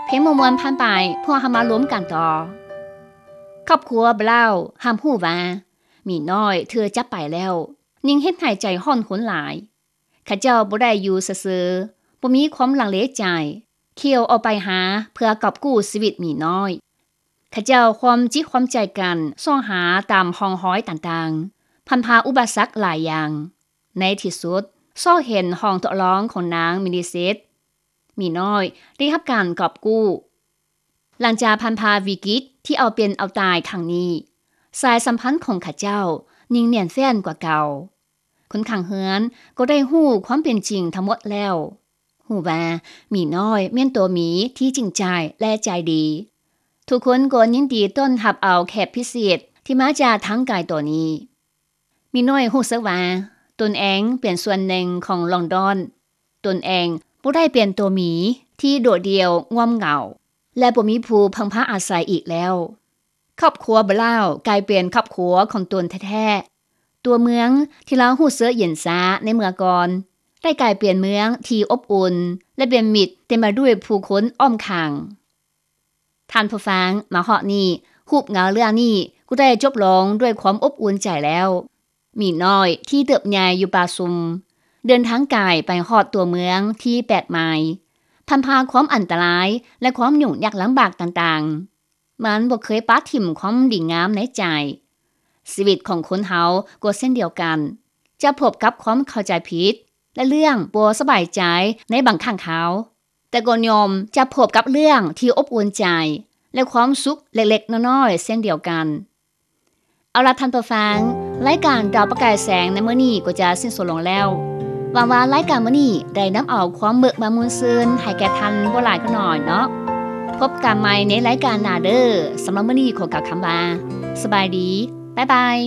ເພງມ່ວນໆຜ່ານໄປ, ພວກເຮົາມາລົມກັນຕໍ່. ຄອບຄົວບຣາວຮັບຮູ້ວ່າ ໝີນ້ອຍຖືກຈັບໄປແລ້ວ, ຍິ່ງເຮັດໃຫ້ໃຈຮ້ອນຮຸນຫຼາຍ. ເຂົາເຈົ້າບໍ່ໄດ້ຢູ່ຊື່ໆ, ບໍ່ມີຄວາມລັງເລໃຈ, ຂ່ຽວອອກໄປຫາເພື່ອກອບກູ້ຊີວິດໝີນ້ອຍ. ເຂົາເຈົ້າຮ່ວມຈິດຮ່ວມໃຈກັນຊອກຫາຕາມຮ່ອງຮອຍຕ່າງໆ, ຜ່ານຜ່າອຸປະສັກຫຼາຍຢ່າງ. ໃນທີ່ສຸດ, ຊອກເຫັນຫ້ອງທົດລອງຂອງນາງມິນິເຊັດ. ໝີນ້ອຍໄດ້ຮັບການກອບກູ້. ຫຼັງຈາກຜ່ານຜ່າວິກິດທີ່ເອົາເປັນເອົາຕາຍຄັ້ງນີ້, ສາຍສຳພັນຂອງເຂົາເຈົ້າຍິ່ງໜຽນແຟ້ນກວ່າເກົ່າ. ຄົນຂ້າງເຮືອນກໍໄດ້ຮູ້ຄວາມເປັນຈິງທັງໝົດແລ້ວ. ຮູ້ວ່າໝີນ້ອຍແມ່ນຕົວໝີທີ່ຈິງໃຈ ແລະ ໃຈດີ. ທຸກຄົນກໍຍິນດີຕ້ອນຮັບເອົາແຂກພິເສດທີ່ມາຈາກທາງໄກຕົວນີ້. ໝີນ້ອຍຮູ້ສຶກວ່າຕົນເອງເປັນສ່ວນໜຶ່ງຂອງລອນດອນ. ຕົນເອງບໍ່ໄດ້ເປັນຕົວໝີທີ່ໂດດດ່ຽວງ່ວມເຫງົາ ແລະ ບໍ່ມີຜູ້ເພິ່ງພາອາໄສອີກແລ້ວ. ຄອບຄົວບຣາວກາຍເປັນຄອບຄົວຂອງຕົນແທ້ໆ. ຕົວເມືອງທີ່ລາວຮູ້ສຶກເຢັນຊາໃນເມື່ອກ່ອນ ໄດ້ກາຍເປັນເມືອງທີ່ອົບອຸ່ນ ແລະ ເປັນມິດເຕັມໄປດ້ວຍຜູ້ຄົນອ້ອມຂ້າງ. ທ່ານຜູ້ຟັງ, ມາຮອດນີ້, ຮູບເງົາເລື່ອງນີ້ກໍໄດ້ຈົບລົງດ້ວຍຄວາມອົບອຸ່ນໃຈແລ້ວ. ໝີນ້ອຍທີ່ເຕີບໃຫຍ່ຢູ່ປ່າຊຸ່ມ ເດີນທາງໄກໄປຮອດຕົວເມືອງທີ່ແປກໃໝ່, ຜ່ານຜ່າຄວາມອັນຕະລາຍ ແລະ ຄວາມຫຍຸ້ງຍາກລຳບາກຕ່າງໆ. ມັນບໍ່ເຄີຍປະຖິ້ມຄວາມດີງາມໃນໃຈ. ຊີວິດຂອງຄົນເຮົາກໍເຊັ່ນດຽວກັນ, ຈະພົບກັບຄວາມເຂົ້າໃຈຜິດ ແລະ ເລື່ອງບໍ່ສະບາຍໃຈໃນບາງຄັ້ງຄາວ, ແຕ່ກໍຍ່ອມຈະພົບກັບເລື່ອງທີ່ອົບອຸ່ນໃຈ ແລະ ຄວາມສຸກເລັກໆນ້ອຍໆເຊັ່ນດຽວກັນ. ເອົາລະທ່ານຜູ້ຟັງ, ລາຍການດາວປະກາຍແສງໃນມື້ນີ້ກໍຈະສິ້ນສຸດລົງແລ້ວ. ຫວັງວ່າລາຍການມື້ນີ້ໄດ້ນຳເອົາຄວາມເບີກບານມ່ວນຊື່ນໃຫ້ແກ່ທ່ານບໍ່ຫຼາຍກໍໜ້ອຍເນາະ. ພົບກັນໃໝ່ໃນລາຍການໜ້າເດີ້. ສຳລັບມື້ນີ້ຂໍກ່າວຄຳວ່າ ສະບາຍດີ. ບາຍບາຍ.